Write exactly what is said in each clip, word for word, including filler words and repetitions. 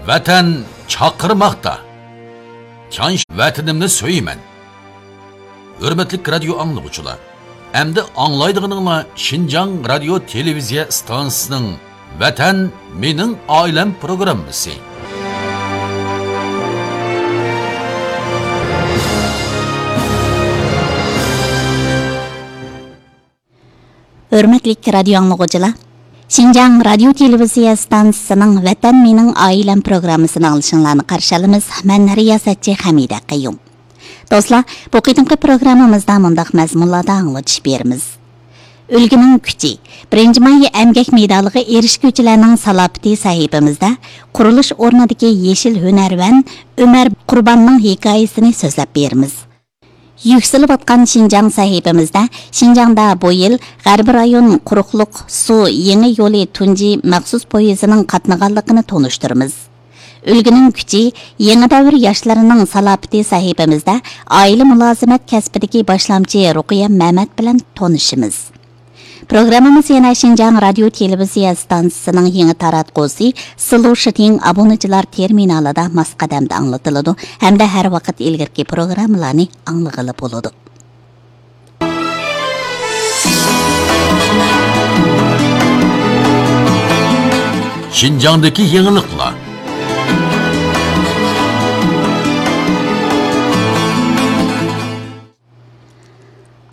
ۋەتەن چاقىرماقتا. تيانش ۋەتىنىمنى سۆيىمەن. ھۆرمەتلىك رادىيو ئاڭلىغۇچىلار، ئەمدى ئاڭلايدىغىنىڭلار شىنجاڭ رادىيو تېلېۋىزىيە ئىستانسىسىنىڭ ۋەتەن مېنىڭ ئائىلەم پروگراممىسى. ھۆرمەتلىك رادىيو ئاڭلىغۇچىلار، شىنجاڭ رادىيو تېلېۋىزىيە ئىستانسىسىنىڭ ۋەتەن مېنىڭ ئائىلەم پروگراممىسىنى ئاڭلىشىڭلارنى قارشى ئالىمىز. مەن رىياسەتچى خەمىدە قەييۇم. دوستلار، بۇ قېتىمقى پروگراممىمىزدا مۇنداق مەزمۇنلاردا ئاڭلىتىش بېرىمىز. ئۈلگىنىڭ كۈچى، بىرىنچى ماي ئەمگەك مېدالىغا ئېرىشكۈچىلەرنىڭ سالاپىتى سەھىپىمىزدە قۇرۇلۇش ئورنىدىكى يېشىل ھۈنەرۋەن ئۆمەر قۇرباننىڭ ھېكايىسىنى سۆزلەپ بېرىمىز. يۈكسىلىۋاتقان شىنجاڭ سەھىپىمىزدە شىنجاڭدا بۇ يىل غەربىي رايون قۇرۇقلۇق سۇ يېڭى يولى تۇنجى مەخسۇس پويىزىنىڭ قاتنىغانلىقىنى تونۇشتۇرىمىز. ئۈلگىنىڭ كۈچى، يېڭى دەۋر ياشلىرىنىڭ سالاپىتى سەھىپىمىزدە ئائىلە مۇلازىمەت كەسپىدىكى باشلامچى رۇقىيە مەمەت بىلەن تونۇشىمىز. پروگراممىمىز يەنە شىنجاڭ رادىيو تېلېۋىزىيە ئىستانسىسىنىڭ يېڭى تاراتقۇسى سىلۇ شىتىڭ ئابۇنىچىلار تېرمىنالىدا ماس قەدەمدە ئاڭلىتىلىدۇ ھەمدە ھەر ۋاقىت ئىلگىرىكى پروگراممىلارنى ئاڭلىغىلى بولىدۇ. شىنجاڭدىكى يېڭىلىقلار.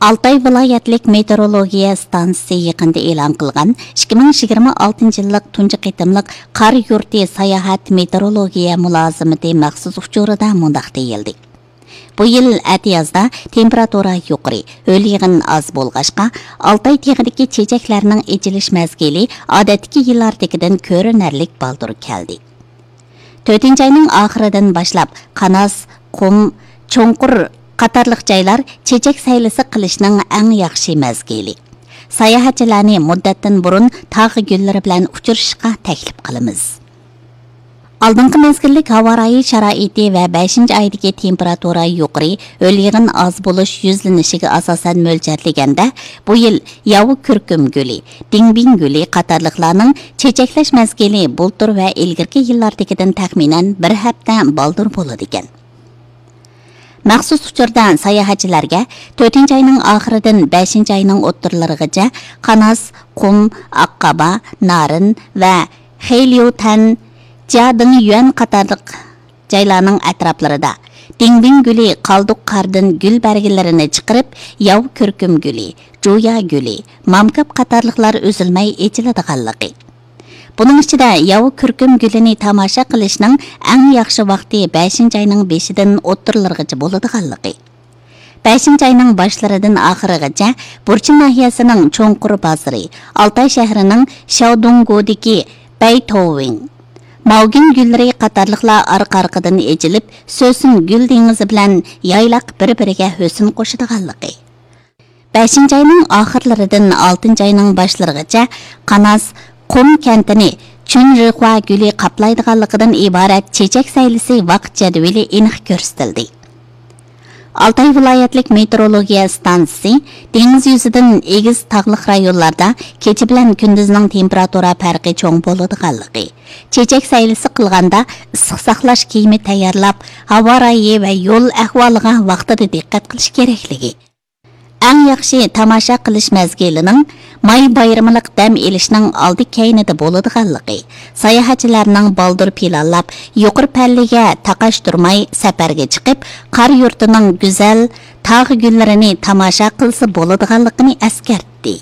ئالتاي ۋىلايەتلىك مېتېئورولوگىيە ئىستانسىسى يېقىندا ئېلان قىلغان ئىككى مىڭ يىگىرمە ئالتىنچى يىللىق تۇنجى قېتىملىق قار يۇرتى ساياھەت مېتېئورولوگىيە مۇلازىمىتى مەخسۇس ئۇچۇرىدا مۇنداق دېيىلدى: بۇ يىل ئەتىيازدا تېمپېراتۇرا يۇقىرى، ھۆل يېغىن ئاز بولغاچقا، ئالتاي تېغىدىكى چېچەكلەرنىڭ ئېچىلىش مەزگىلى ئادەتتىكى يىللاردىكىدىن كۆرۈنەرلىك بالدۇر كەلدى. تۆتىنچى ئاينىڭ ئاخىرىدىن باشلاپ قاناس، قۇم، چوڭقۇر قاتارلىق جايلار چېچەك سەيلىسى قىلىشنىڭ ئەڭ ياخشى مەزگىلى. ساياھەتچىلەرنى مۇددەتتىن بۇرۇن تاغ گۈللىرى بىلەن ئۇچرىشىشقا تەكلىپ قىلىمىز. ئالدىنقى مەزگىللىك ھاۋا رايى شارائىتى ۋە بەشىنچى ئايدىكى تېمپېراتۇرا يۇقىرى، ھۆل يېغىن ئاز بولۇش يۈزلىنىشىگە ئاساسەن مۆلچەرلىگەندە، بۇ يىل ياۋا كۈركۈم گۈلى، دىڭبىڭ گۈلى قاتارلىقلارنىڭ چېچەكلەش مەزگىلى بۇلتۇر ۋە ئىلگىرىكى يىللاردىكىدىن تەخمىنەن بىر ھەپتە بالدۇر بولىدىكەن. مەخسۇس ئۇچۇردا ساياھەتچىلەرگە تۆتىنچى ئاينىڭ ئاخىرىدىن بەشىنچى ئاينىڭ ئوتتۇرىلىرىغىچە قاناس، قۇم، ئاققابا، نارىن ۋە خېيليۇتەن، جيادىڭيۈەن قاتارلىق جايلارنىڭ ئەتراپلىرىدا دىڭبىڭ گۈلى قالدۇق قاردىن گۈل بەرگىلىرىنى چىقىرىپ، ياۋا كۈركۈم گۈلى، جۇيا گۈلى، مامكاپ قاتارلىقلار ئۈزۈلمەي ئېچىلىدىغانلىقى، بۇنىڭ ئىچىدە ياۋا كۈركۈم گۈلىنى تاماشا قىلىشنىڭ ئەڭ ياخشى ۋاقتى بەشىنچى ئاينىڭ بېشىدىن ئوتتۇرىلىرىغىچە بولىدىغانلىقى، بەشىنچى ئاينىڭ باشلىرىدىن ئاخىرىغىچە بۇرچىن ناھىيەسىنىڭ چوڭقۇر بازىرى، ئالتاي شەھىرىنىڭ شياۋدۇڭگۇدىكى بەيتوۋىڭ، ماۋگىن گۈللىرى قاتارلىقلار ئارقا-ئارقىدىن ئېچىلىپ، سۆسۈن گۈل دېڭىزى بىلەن يايلاق بىر-بىرىگە ھۆسن قوشىدىغانلىقى، بەشىنچى ئاينىڭ ئاخىرلىرىدىن ئالتىنچى ئاينىڭ باشلىرىغىچە قاناس، قۇم كەنتىنى چۈنرىخۇا گۈلى قاپلايدىغانلىقىدىن ئىبارەت چېچەك سەيلىسى ۋاقىت جەدۋىلى ئېنىق كۆرسىتىلدى. ئالتاي ۋىلايەتلىك مېتېئورولوگىيە ئىستانسىسى دېڭىز يۈزىدىن ئېگىز تاغلىق رايونلاردا كېچە بىلەن كۈندۈزنىڭ تېمپېراتۇرا پەرقى چوڭ بولىدىغانلىقى، چېچەك سەيلىسى قىلغاندا ئىسسىق ساقلاش كىيىمى تەييارلاپ، ھاۋا رايى ۋە يول ئەھۋالىغا ۋاقتىدا دىققەت قىلىش كېرەكلىكى، ئەڭ ياخشى تاماشا قىلىش مەزگىلىنىڭ ماي بايرىملىق دەم ئېلىشنىڭ ئالدى كەينىدە بولىدىغانلىقى، ساياھەتچىلەرنىڭ بالدۇر پىلانلاپ، يۇقىرى پەللىگە تاقاشتۇرماي سەپەرگە چىقىپ، قار يۇرتىنىڭ گۈزەل تاغ گۈللىرىنى تاماشا قىلسا بولىدىغانلىقىنى ئەسكەرتتى.